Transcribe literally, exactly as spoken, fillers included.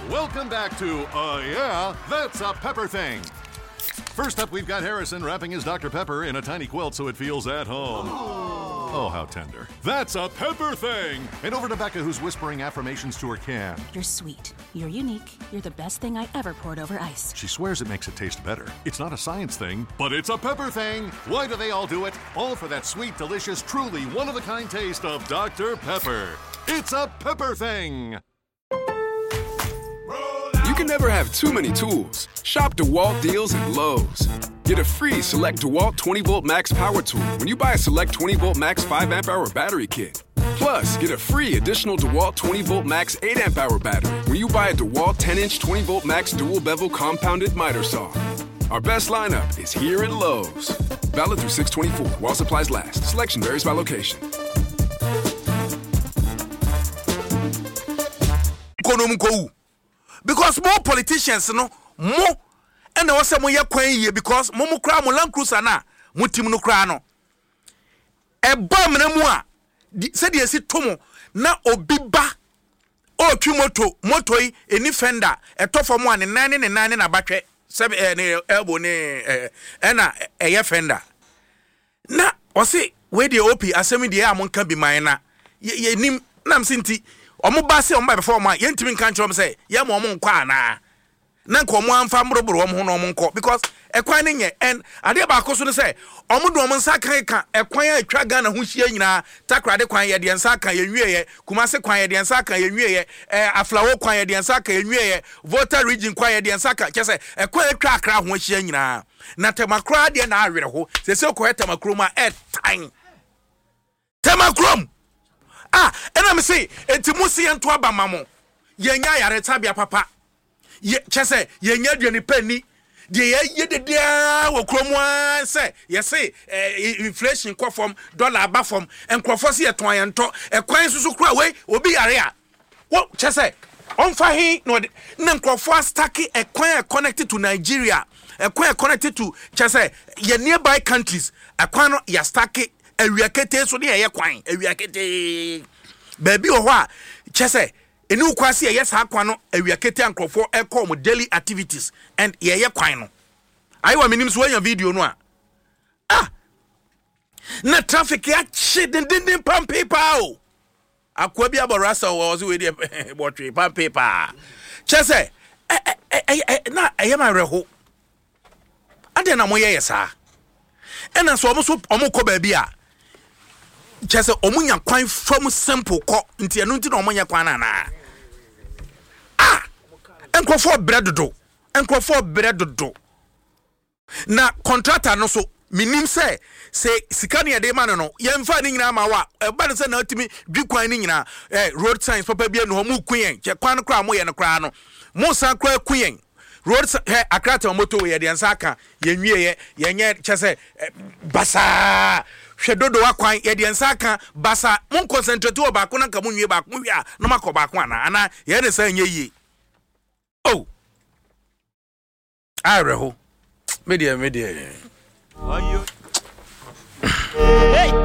Welcome back to Uh Yeah, That's a Pepper Thing. First up, we've got Harrison wrapping his Doctor Pepper in a tiny quilt so it feels at home. Oh, how tender. That's a pepper thing! And over to Becca, who's whispering affirmations to her can. You're sweet. You're unique. You're the best thing I ever poured over ice. She swears it makes it taste better. It's not a science thing, but it's a pepper thing. Why do they all do it? All for that sweet, delicious, truly one of a kind taste of Doctor Pepper. It's a pepper thing. You can never have too many tools. Shop DeWalt deals at Lowe's. Get a free Select DeWalt twenty volt Max power tool when you buy a Select twenty volt Max five amp hour battery kit. Plus, get a free additional DeWalt twenty volt Max eight amp hour battery when you buy a DeWalt ten inch twenty volt Max dual bevel compounded miter saw. Our best lineup is here at Lowe's. Valid through six twenty-four while supplies last. Selection varies by location. Because more politicians no mo and wɔ sɛ moyɛ kwan yie, because mo mo koraa mo Land Cruiser na mo tim no koraa no ɛba mmerɛ mu a sɛdeɛ esi to mo na obi ba ɔretwi moto moto yi eni fender ɛtɔ fam a ne nan ne ne nan ne n'abatwɛ sɛbi ɛɛ ne elbow ne ɛɛ ɛna ɛyɛ fender na ɔsi wei deɛ op asɛm deɛ a mo nka bi man na yɛ yɛ nim nam si nti ɔmo ba se ɔmo ba bɛfɔ ɔmo a yɛntumi nka nkyerɛ ɔmo sɛ yɛ ma ɔmo nkɔ anaa na nka ɔmo amfa mboroboro ɔmo ho na ɔmo nkɔ, because ɛkwan ne nyɛ. Ɛn adeɛ baako so no sɛ ɔmo de ɔmo nsa kan ka ɛkwan a atwa Ghana ho hyia nyinaa. Takoradi kwan yɛ deɛ nsa aka, yɛn wie yɛ. Kumase kwan yɛ deɛ nsa aka, yɛn wie yɛ. Ɛɛ Aflao kwan yɛ deɛ nsa aka, yɛn wie yɛ. Volta Region kwan yɛ deɛ nsa aka. Kyɛ sɛ ɛkwan atwa Akra ho ahyia nyinaa na Tema koraa deɛ na awerɛ ho sɛ sɛ kɔyɛ Tema kurom a ɛtan Tema kurom a ɛna mi se eti mo si yɛn to aba ma mo, yɛn nya ayaresabea papa yɛ kyɛ sɛ yɛn nya aduane pa ni deɛ yɛyɛ dedeaa wɔ kurom a sɛ yɛse eh, inflation kɔ fam, dollar aba fam, nkurɔfoɔ sɛ yɛtɔn yɛn ntɔ ɛkwan soso kora wei obi yare a wɔ kyɛ sɛ ɔmfa he na ɔde na nkurɔfoɔ astuck ɛkwan a connected to Nigeria, ɛkwan a connected to kyɛ sɛ yɛ nearby countries, ɛkwan no yɛastuck awia ketee so ne yɛyɛ kwan awia ketee. Baabi wɔ hɔ a kyɛ sɛ ɛni wo kwan sɛ yɛyɛ saa kwan no awia ketee a nkurɔfoɔ ɛkɔ wɔn daily activities and yɛyɛ kwan no ayiwa. Menim so wɔanya video no a ah na traffic akye dendenden pampe paa o. Akoa bi abɔ rasta wɔ ɔsɛ wei deɛ bɔtwe pampe paa kyɛ sɛ ɛ ɛ ɛ na ɛyɛ ma awerɛho. Adeɛ na moyɛ yɛ saa ɛna sɛ ɔmo so ɔmo kɔ baabi a kyɛ sɛ ɔmo nya kwan fam simple kɔ, nti ɛno nti na ɔmo nyɛ kwan no anaa? Ah, nkurɔfoɔ brɛ dodo, nkurɔfoɔ brɛ dodo. Na contractor no so menim sɛ sɛ sika ne yɛde ma no no yɛmfa ne nyinaa ma wo a ɛba no sɛ na atumi dwi kwan no nyinaa. eh, road signs papa bi anu hɔ, mu ku yɛn kyɛ kwan no koraa moyɛ no koraa no mo san koraa ku yɛn road hɛ. Accra Tema motorway yɛde nsa aka, yɛnwie yɛ yɛnyɛ kyɛ sɛ basaa. Hwɛ Dodowa kwan yɛde nsa aka basa. Mo concentrate wɔ baako na nka mo nwie baako wie a na mo akɔ baako anaa anaa yɛn ne sɛ nyɛ yie o. Awerɛho, me deɛ me deɛ. Hey!